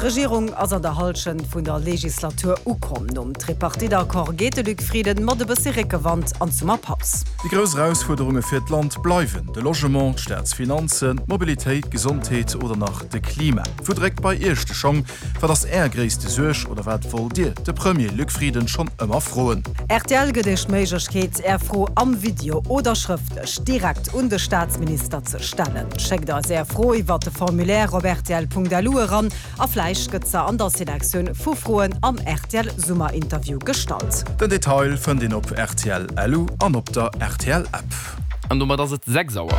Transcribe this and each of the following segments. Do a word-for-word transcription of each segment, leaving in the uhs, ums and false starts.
D'Regierung ass an der Hallschent vun der Legislatur ukomm. Nom Tripartite-Accord geet de Luc Frieden mat e bësse Réckewand an d'Summerpaus. Déi grouss Erausfuerderunge fir d'Land bleiwen de Logement, d'Staatsfinanzen, d'Mobilitéit, d'Gesondheet oder nach de Klima. Wou dréckt bei Iech de Schong? Wat ass Är gréisste Suerg oder wat wollt Dir de Premier Luc Frieden schonn ëmmer froen? Rtl gëtt Iech d'Méiglechkeet, Är Fro am Video oder schrëftlech direkt un de Staatsminister ze stellen. Schéckt eis Är Fro iwwer de Formulaire op rtl.lu eran a vläicht gëtt se an der Selektioun vu Froen am R T L Summerinterview gestallt. Den Detail fënnt een op rtl L U an op der R T L App. An domat ass et sechs Auer.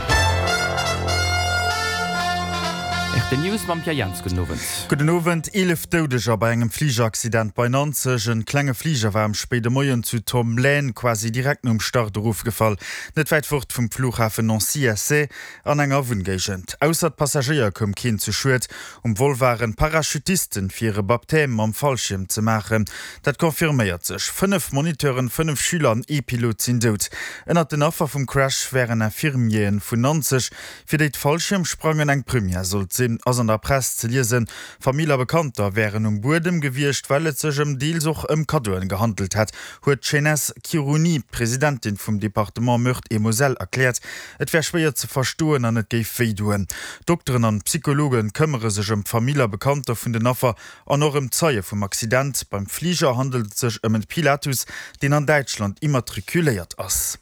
R T L News mam Pierre Jans. Gudden Owend. Gudden Owend. Eelef Doudeger bei engem Fligeraccident bei Nanzeg. En klenge Fliger war am spéide Moien zu Tomblaine quasi direkt nom Start erofgefall, net wäit fort vum Flughafen Nancy-Essey an enger Wunngéigend. Ausser d'Passagéier koum keen zu Schued. Um Vol waren Parachutisten fir e Baptême mam Fallschierm ze maachen. Dat confirméiert sech. Fënnef Moniteuren, fënnef Schüler an ee Pilot sinn dout. Ënnert den Affer vum Crash wären Infirmieren vun Nanzeg, fir déi d'Fallschiermsprangen eng Première sollt sinn, ass an der Press ze liesen. Famill a Bekannter wären um Buedem gewiescht, well et sech ëm deels och ëm Kaddoen gehandelt hätt, huet d'Chayness Khirouni, Presidentin vum Departement Meurthe-et-Moselle, erkläert. Et wär schwéier ze verstoen an et géif wéi doen. Dokteren an Psychologe këmmere sech ëm Famill a Bekannter vun den Affer an och ëm Zeie vum Accident. Beim Fliger handelt et sech ëm en Pilatus, deen an Däitschland immatrikuléiert ass.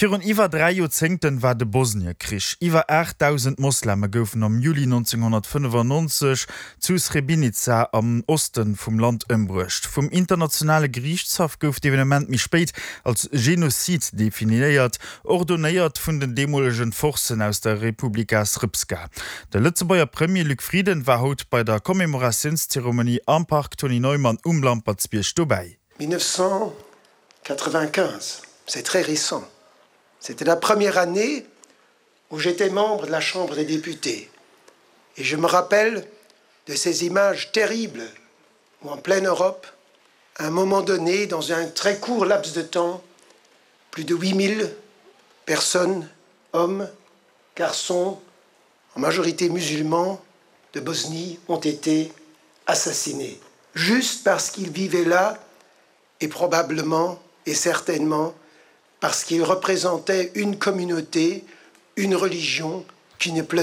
Virun iwwer dräi Joerzéngten war de Bosniekrich. Iwwer aachtdausend Mosleme goufen am Juli nonzénghonnertfënnefannonzeg zu Srebrenica am Oste vum Land ëmbruecht. Vum internationale Geriichtshaff gouf d'Evenement méi spéit als Genozid definéiert, ordonéiert vun den deemolegen Forcen aus der Republika Srpska. De Lëtzebuerger Premier Luc Frieden war haut bei der Commémoratiounszeremonie am Park Tony Neumann um Lampertsbierg dobäi. mille neuf cent quatre-vingt-quinze, c'est très récent. C'était la première année où j'étais membre de la Chambre des députés. Et je me rappelle de ces images terribles où en pleine Europe, à un moment donné, dans un très court laps de temps, plus de huit mille personnes, hommes, garçons, en majorité musulmans de Bosnie, ont été assassinés, juste parce qu'ils vivaient là et probablement et certainement parce qu'ils représentaient une communauté, une religion qui ne plaisait